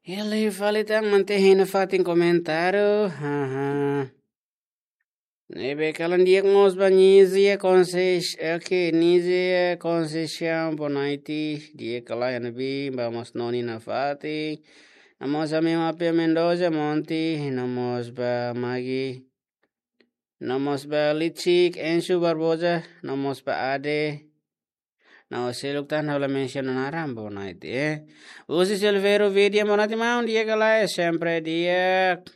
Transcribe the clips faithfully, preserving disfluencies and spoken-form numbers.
Ele fali tan mante hina fatin komentáriu. Haha. Ne'ebé kalan di'ak mós ba Nizia Konses, oke, Nizia Konseisaun, boa noite. Di'ak ka lae, hanoin ba mós noni nafatin. No mós ami Mapia Mendoza, Monti, no mós ba Magi. No mós ba Lichik, Ensu Barboza, no mós ba Ade. No seluk tan ha'u la mensiona naran, boa noite, eh. Husi Silveiro Vidia, boa noite, maun, di'ak ka lae, sempre di'ak.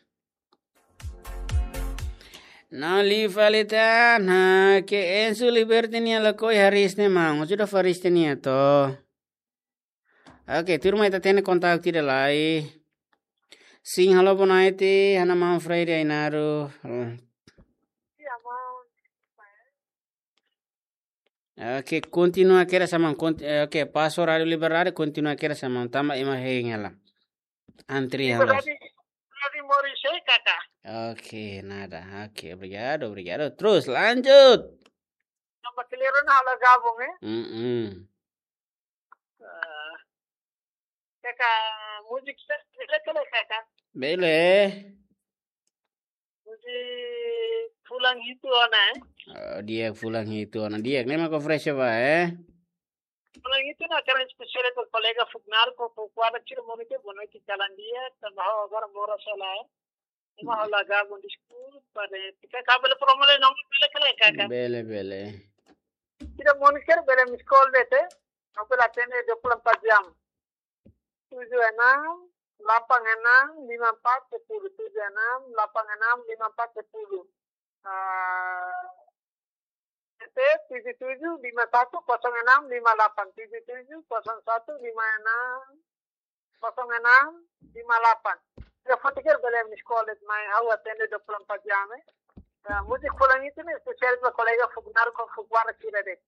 No liu fali tan, ha, ke Ensu Liberty nia lakohi hariis ne'e, maun, sudah hariis ne'e to. Oke, tuirmai ita hatene kontaktu ida lai. Sim, halo, boa noite, ha'u-nia maun Freddy Ainaro. Oke, kontinua kedas, maun, konti-, eh, oke, paso Rádio Liberdade, kontinua kedas, maun, tanba ema hein hela. Antri halo. Liberdade, Liberdade moris, eh, kaka. Oke, nada. Oke, obrigadu, obrigadu. Terus, lanjut. Tanba kleur ona halo gabung, eh. Mm-mm. Ah, kaka, múzika sira bele ka lae, kaka? Bele. Múzika Fulan Hitu Ona, eh? Oh, di'ak, Fulan Hitu Ona. Di'ak, ne'e mak oferese ba, eh? Fulan Hitu Ona, hakarak espesiál ba kolega Fuknarko, Fukuara, sira monitor, boa noite, kalan di'ak, tanba ha'u agora moras hela, eh? Ema ha'u la gabung, deskulpa, eh. Kaka, bele promo lai, nomor bele ka lae, kaka? Bele, bele. Sira monitor, bele miss call de'it, eh? Ha'u bele atende dua puluh empat jam. Tujuh enam, delapan enam, lima empat, sepuluh. Tujuh enam, delapan enam, lima empat, sepuluh. Ah, T P tujuh tujuh lima satu kosong enam lima delapan, tujuh tujuh kosong satu lima enam kosong enam lima delapan. Telepon tiga bele miss call de'it, maun, ha'u atende dua puluh empat jam, eh. Nah, múzika Fulan Hitu Ona ne'e espesiál ba kolega Fuknarko, Fukuara sira de'it.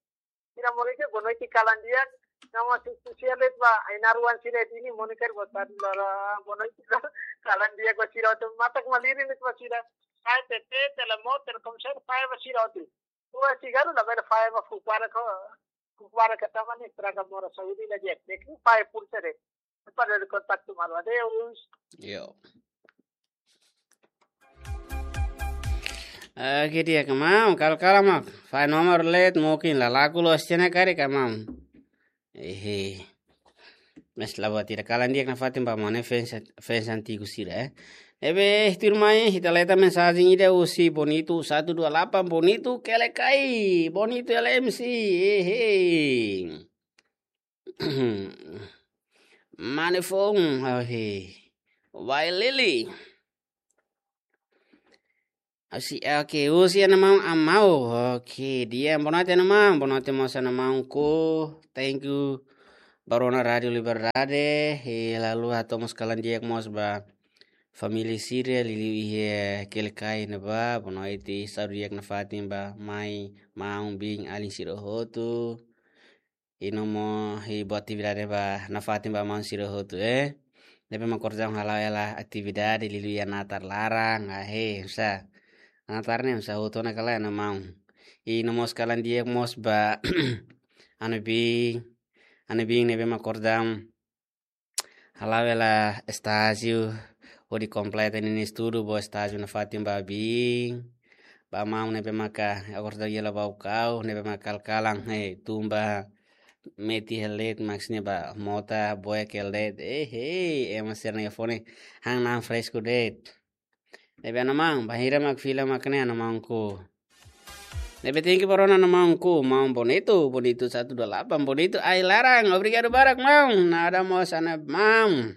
Sira monitor, boa noite, kalan di'ak. Nama si, si, sira de'it ba, Ainaro oan sira de'it ne'e monitor, boa tarde, lala, boa noite, kalan di'ak ba sira hotu, matak malirin de'it ba sira. Sai T T, Telemor, Telkomsel, fahe ba sira hotu. Ua sigaru la bele fahe ba Fukuara ko, Fukuara ka tanba ne'e estraga moras, saúde la di'ak, di'ak, fahe pulsa de'it. Para de kontaktu malu, adeus. Yo. Oke, di'ak ka maun, kal-kala mak. Fahe nomor let, mungkin la laku loos tiha ona karik ka maun. Ehe. Mas la buat ida, kalan di'ak nafatin ba maun, eh, fans, fans antigu sira, eh. Ne'ebé, tuirmai, ita leta mensajen ida husi Bonito satu dua delapan, Bonito Kelekai, Bonito L M C, ehe. Mane foun, oke. Wai Lili. Husi, oke, husi ha'u-nia maun Amau. Oke, di'ak, boa noite ha'u-nia maun, boa noite mós ha'u-nia maunku. Thank you ba rona Rádio Liberdade. E lalu hato'o mós kalan di'ak mós ba família sira, liuliu iha Kelekai ne'ebá, boa noite, saúde di'ak nafatin ba mai, maun, biin, alin sira hotu. I no mós, i buat atividade ba, nafatin ba maun sira hotu, eh. Ne'ebé mak kordang hala'o hela atividade, liuliu iha natar laran, ah, he, sa. Natar ne'e, sa hotu ona ka lae, ha'u-nia maun. I no mós kalan di'ak mós ba, ha'u-nia biin, ha'u-nia biin ne'ebé mak kordang hala'o hela estájiu, hodi kompleta ninia estudu, ba estájiu nafatin ba biin. Ba maun ne'ebé maka, agora ita hela ba ukau, ne'ebé maka kal-kalan, he, tun ba metin hela de'it, maksudnya ba mota, boek hela de'it, eh, he, ema sira-nia fone, han na'an fresku de'it. Ne'ebé ha'u-nia maun, bainhira mak fila mak ne'e ha'u-nia maunku. Ne'ebé thank you ba rona ha'u-nia maunku, maun Bonito, Bonito satu dua delapan, Bonito ai-laran, obrigadu barak maun, nada mós ha'u-nia maun.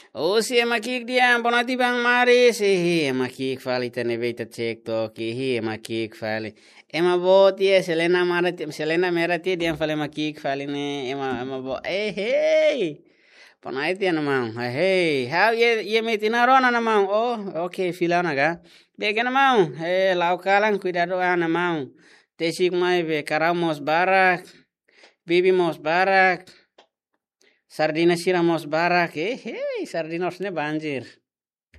Husi ema ki'ik dehan, boa noite Bang Maris, ehe, ema ki'ik fali ita ne'ebé ita cek took, ehe, ema ki'ik fali. Ema boot, eh, selena merah tiha, selena merah tiha dehan fali ema ki'ik fali ne'e, ema, ema boot, ehe. Boa noite ha'u-nia maun. Hei, hei. Ha'u iha, iha metin ona rona ha'u-nia maun. Oh, oke, fila ona ka. Di'ak ha'u-nia maun. Eh, la'o kalan, kuidadu ha'u-nia maun. Tesik mai be, karau mós barak. Bibi mós barak. Sardina sira mós barak. Eh, hei, sardina harusnya banjir.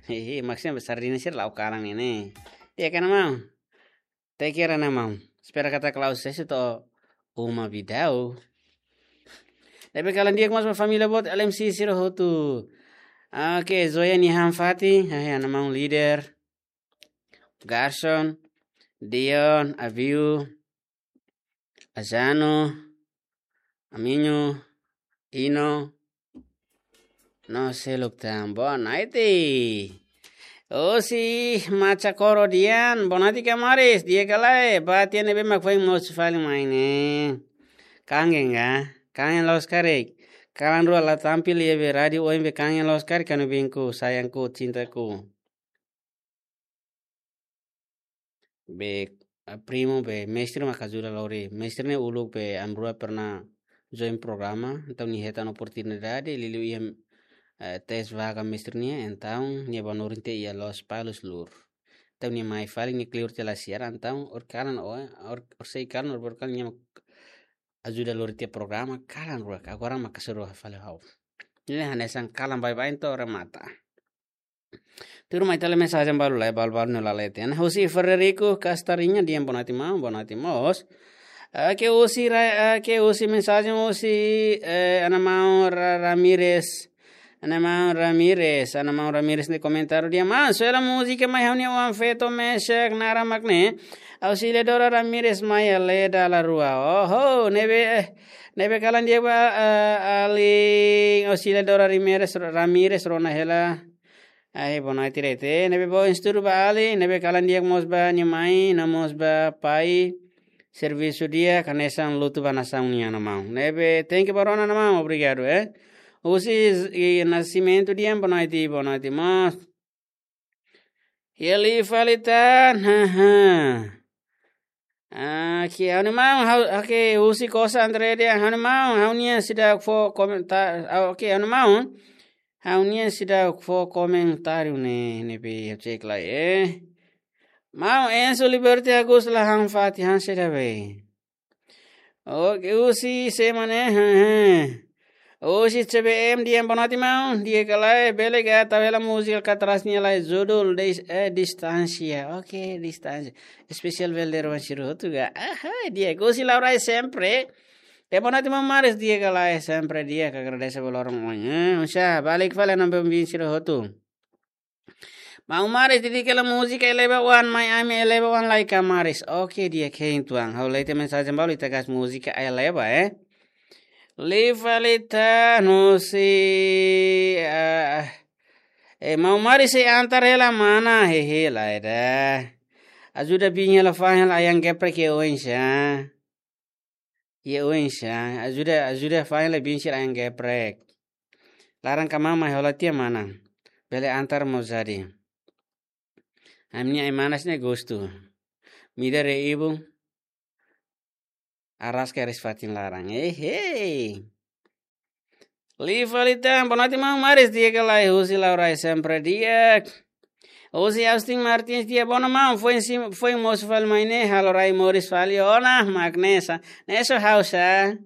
Hei, hei, maksudnya sardina sira la'o kalan ne'e. Di'ak ha'u-nia maun. Te kira na maun. Espera katak la'o sesi to'o uma bidau. Ne'ebé kalan di'ak mós ba família boot L M C sira hotu. Oke, Zoya nia han-fatin, hahe, ha'u-nia maun líder. Garson, Dion, Aviu, Azano, Aminho, Ino, no seluk tan. Boa noite. Husi Machacoro nian, boa noite kamaris, di'ak ka lae, ba tiha ne'ebé mak foin mosu fali mai ne'e. Kangen ka? Kangen loos karik. Kalan rua la tampil iha be rádiu oin be kangen loos karik, kanu binku, sayangku, cintaku. Be, ah, primo be mestre mak ajuda lori. Mestre ne'e uluk be ami rua pernah join programa, entaun nia hetan oportunidade, liuliu iha, eh, tes vaga mestre nian, entaun nia bá hanorin tiha iha Lospalos, Lour. Entaun nia mai fali, nia kleur tiha la siar, entaun ohin kalan, ohin, ohin, ohin sei kalan, ohin kalan nia mak ajuda lori tiha programa, kalan rua, agora mak kasih rua fali ha'u. Ne'e hanesan kalan baibain to'o remata. Tuirmai ita lee mensajen balu lai, balu-balu ne'e la leten. Husi Frederico Castarinha, di'ak, boa noite maun, boa noite mós. Oke, husi ra-, oke, husi mensajen husi, eh, ha'u-nia maun Ra-, Ramirez. Ha'u-nia maun Ramirez, ha'u-nia maun Ramirez nia komentáriu di'ak: "Maun, sei hela múzika mai ha'u-nia oan-feto Meshach naran mak ne'e. Auxiliadora Ramirez mai hela dala rua." Oho, ne'ebé, eh, ne'ebé kalan di'ak ba, eh, alin Auxiliadora Ramirez, Ramirez rona hela. Ai, boa noite, rete. Ne'ebé boa estudu ba alin, ne'ebé kalan di'ak mós ba nia mai, no mós ba pai. Servisu di'ak, hanesan lutu ba nasaun nian, ha'u-nia maun. Ne'ebé, thank you ba rona, ha'u-nia maun, obrigadu, eh. Husi, i, Nascimento nian, boa noite, boa noite mós. Iha liu fali tan, haha. Ah, oke, ha'u-nia maun, ha'u, oke, husi Kosa André nian, ha'u-nia maun, ha'u-nia seidauk fó komentár-, ah, oke, ha'u-nia maun, ha'u-nia seidauk fó komentáriu ne'e, ne'ebé ha'u cek lai, eh. Maun, Enzo Liberty Agus la han-fatin, han saida be? Oke, husi sé mak ne'e, he, he. Husi C B M nian, boa noite maun, di'ak ka lae, bele ka tau hela múzika katrás nia lai, judul dis-, eh, Distánsia. Oke, Distánsia. Espesiál ba ita-boot sira hotu ka. Aha, di'ak, husi Laurai sempre. Di'ak, boa noite maun Maris, di'ak ka lae, sempre di'ak, agradese ba loron ohin. Eh, oinsá, balik fali ba ita-boot sira hotu. Maun Maris, dedika hela múzika eleva oan mai ami, eleva oan lai ka Maris. Oke, di'ak, hein tuan. Ha'u lee tiha mensajen balu, ita gas múzika eleva, eh. Liu fali tan husi, ah, eh, maun Maris sei antar hela mana, hehe, lae ida. Ajuda biin hela fa'an hela ayam geprek iha oinsá. Iha oinsá, ajuda, ajuda fa'an hela biin sira ayam geprek. Laran kamamai hola tiha mana. Bele antar mós jadi. Ami-nia ai-manas ne'e gostu. Mida re ibu. Araska res fatin laran. Eh, hey. Liu fali tan, boa noite maun Maris, di'ak ka lae, husi Laurai sempre di'ak. Husi Austin Martins, di'ak, boa noite maun, foin sim, foin mosu fali mai ne'e, halo rai moris fali ona, mak ne'e sa. Ne'e só ha'u sa.